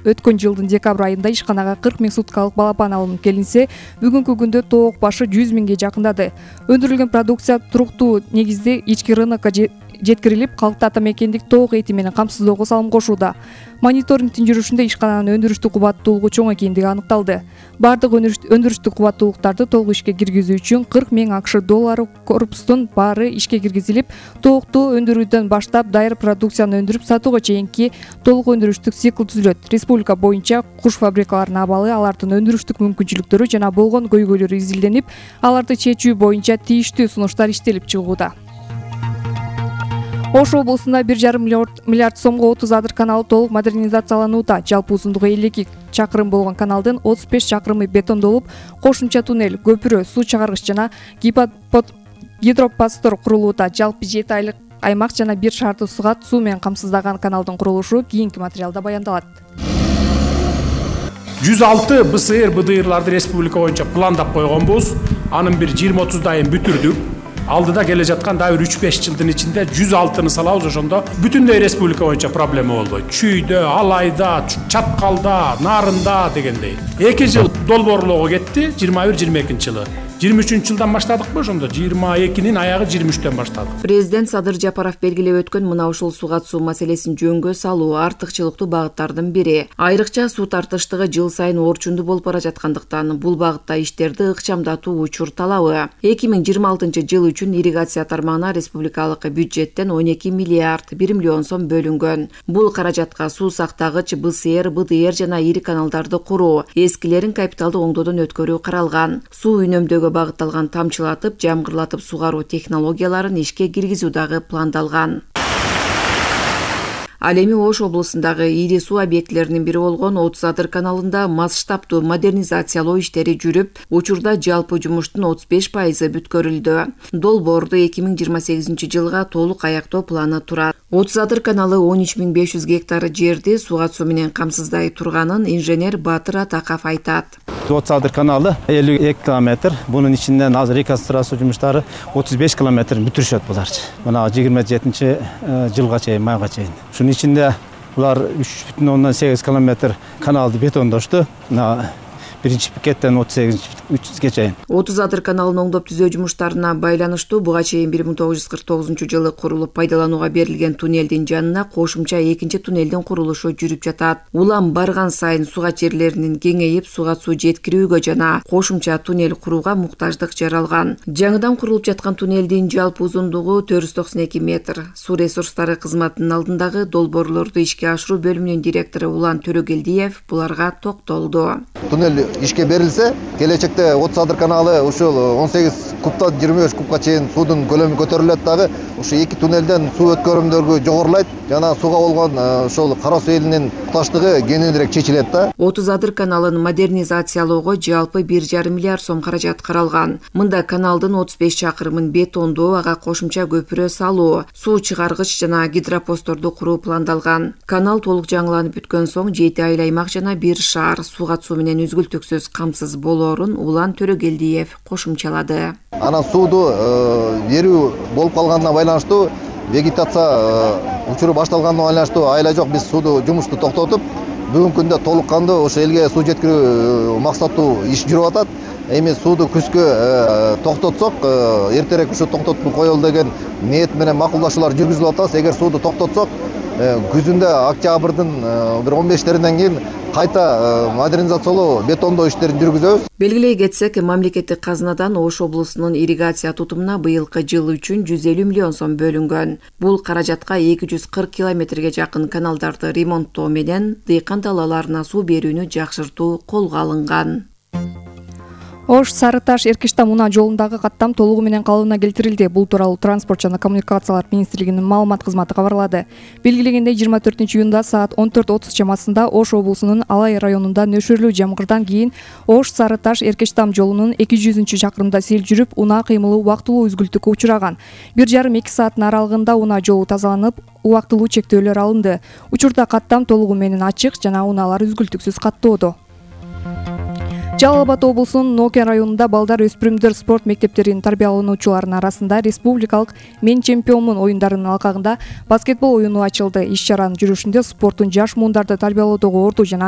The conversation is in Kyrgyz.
өткөн жылдын декабрь айында ишканага 40 000 суткалык балапан алынып келинсе, бүгүнкү күндө тоок башы 100 000ге жакындады. Өндүрүлгөн продукция туруктуу негизде ички рынокко жеткирилип, калкты ата мекендик тоок эти менен камсыздоого салым кошууда. Мониторингдин жүрүшүндө ишкананын өндүрүштүк кубаттуулугу чоң экендиги аныкталды. Бардык өндүрүштүк кубаттуулуктарды толук ишке киргизүү үчүн 40 000 АКШ доллары корпустун баары ишке киргизилип, тоокту өндүрүүдөн баштап дайыр продукцияны өндүрүп сатууга чейинки толук өндүрүштүк цикл түзүлөт. Республика боюнча куш фабрикаларынын абалы, алардын өндүрүштүк мүмкүнчүлүктөрү жана болгон көйгөйлөрү изилденип, аларды чечүү боюнча тийиштүү сунуштар иштелип чыгууда. Ош облусунда 1,5 миллиард сомго 30 адыр каналы толук модернизацияланууда. Жалпы узундугу 52 чакырым болгон каналдын 35 чакырымы бетондолуп, кошумча туннель, көпүрө, суу чыгаргыч жана гидропасттор курулууда. Жалпы 7 айлык аймак жана 1 шаарды сугат суу менен камсыздаган каналдын курулушу кийинки материалда баяндалат. 106 БСР БДРларды республика боюнча пландап койгонбуз. Анын бир 20-30дайын бүтүрдүк. Алдыда келе жаткан дагы 3-5 жылдын ичинде 106-ны салабыз, ошондо бүтүндөй республика боюнча проблема болбойт. Чүйдө, Алайда, Чапкалда, Нарында дегендей. 2 жыл долбоорлоого кетти, 21-22 жылы. 23 жылдан баштадыкпы, ошондо 22-нин аягы 23-төн баштадык. Президент Садыр Жапаров белгилеп өткөн мына ушул суу катышуу маселесин жөнгө салуу артыкчылыктуу багыттардын бири. Айрыкча суу тартыштыгы жыл сайын орчундуу болуп бара жаткандыктан бул багытта иштерди ыкчамдатуу учур талабы. 2026 жыл үчүн ирригация тармагына республикалык бюджеттен 12 миллиард 1 миллион сом бөлүнгөн. Бул каражатка суу сактагыч, БСР, БДР жана ири каналдарды куруу, эскилерин капиталдык оңдоодон өткөрүү каралган. Суу үнөмдөөгө багытталган тамчылатып, жамгырлатып сугаруу технологияларын ишке киргизүү дагы пландалган. Ал эми Ош облусундагы ири суу объектилеринин бири болгон 30 адыр каналында масштабтуу модернизациялоо иштери жүрүп, учурда жалпы жумуштун 35% бүткөрүлдү. Долбоорду 2028 жылга толук аяктоо планы турат. 30 адыр каналы 13 500 гектар жерди суу катышуу менен камсыздай турганын инженер Батыр Атаков айтат. 30 адыр каналы 52 километр. Бунун ичинен азыр реконструкция жумуштары 35 километрин бүтүрүшөт буларчы. Мына 27 жылга чейин, майга чейин. Шунун ичинде булар 3,8 километр каналды бетондошту. Биринчи пикеттен 38-ге чейин. 30 адыр каналын оңдоп түзөө жумуштарына байланыштуу буга чейин 1949 жылы курулуп пайдаланууга берилген туннелдин жанына кошумча экинчи туннелдин курулушу жүрүп жатат. Улам барган сайын сугат жерлеринин кеңейип, суга суу жеткирүүгө жана кошумча туннель курууга муктаждык жаралган. Жаңыдан курулуп жаткан туннелдин жалпы узундугу 492 метр. Суу ресурстары кызматынын алдындагы долбоорлорду ишке ашыруу бөлүмүнүн директору Улан Төрөгелдиев буларга токтолду. Туннель ишке берилсе, келечекте 30 адыр каналы ушул 18 кубтан 25 кубка чейин суудун көлөмү көтөрүлөт дагы. Ушу эки туннелден суу өткөрүмдөргө жогорулайт. Жана сууга болгон ошол Кара суу элинин муктаждыгы кененирээк чечилет да. 30 адыр каналын модернизациялоого жалпы 1,5 миллиард сом каражат каралган. Мында каналдын 35 чакырымын бетондоо, ага кошумча көпүрө салуу, суу чыгаргыч жана гидропостторду куруу пландалган. Канал толук жаңыланып бүткөн соң 7 айыл аймак жана 1 шаар суу катышуу менен үзгүлтүксүз камсыз болоорун Улан Төрөгелдиев кошумчалады. Анан сууду берүү болуп калганына байланыштуу вегетация учуру башталганына байланыштуу айла жок биз сууду жумушту токтотуп, бүгүнкү күндө толук кандуу ошо элге суу жеткирүү максаттуу иш жүрүп атат. Эми сууду күзгө токтотсок, эртерээк ушу токтотуп коелу деген ниет менен макулдашуулар жүргүзүлүп атабыз. Эгер сууду токтотсок, күзүндө октябрдын бир 15-теринен кийин кайта модернизациялоо, бетондоо иштерин жүргүзөбүз. Белгилей кетсек, мамлекеттик казынадан Ош облусунун ирригация тутумуна быйылкы жыл үчүн 150 миллион сом бөлүнгөн. Бул каражатка 240 километрге жакын каналдарды ремонттоо менен дыйкан далаларына суу берүүнү жакшыртуу колго алынган. Ош Сары Таш Эркиштам унаа жолундагы каттам толугу менен калыбына келтирилди. Бул тууралуу Транспорт жана коммуникациялар министрлигинин маалымат кызматы кабарлады. Белгилегендей 24-июнда саат 14:30 чамасында Ош облусунун Алай районунда нөшөрлүү жамгырдан кийин Ош Сары Таш Эркиштам жолунун 200-чакырымда сел жүрүп, унаа кыймылы убактылуу үзгүлтүккө учураган. 1,5-2 сааттын аралыгында унаа жолу тазаланып, убактылуу чектөөлөр алынды. Учурда каттам толугу менен ачык жана унаалар үзгүлтүксүз каттоодо. Жалал Абад облусунун Нокен районунда балдар өспүрүмдөр спорт мектептеринин тарбиялануучуларынын арасында республикалык «Мен чемпионмун» оюндарынын алкагында баскетбол оюну ачылды. Иш чаранын жүрүшүндө спорттун жаш муундарды тарбиялоодогу орду жана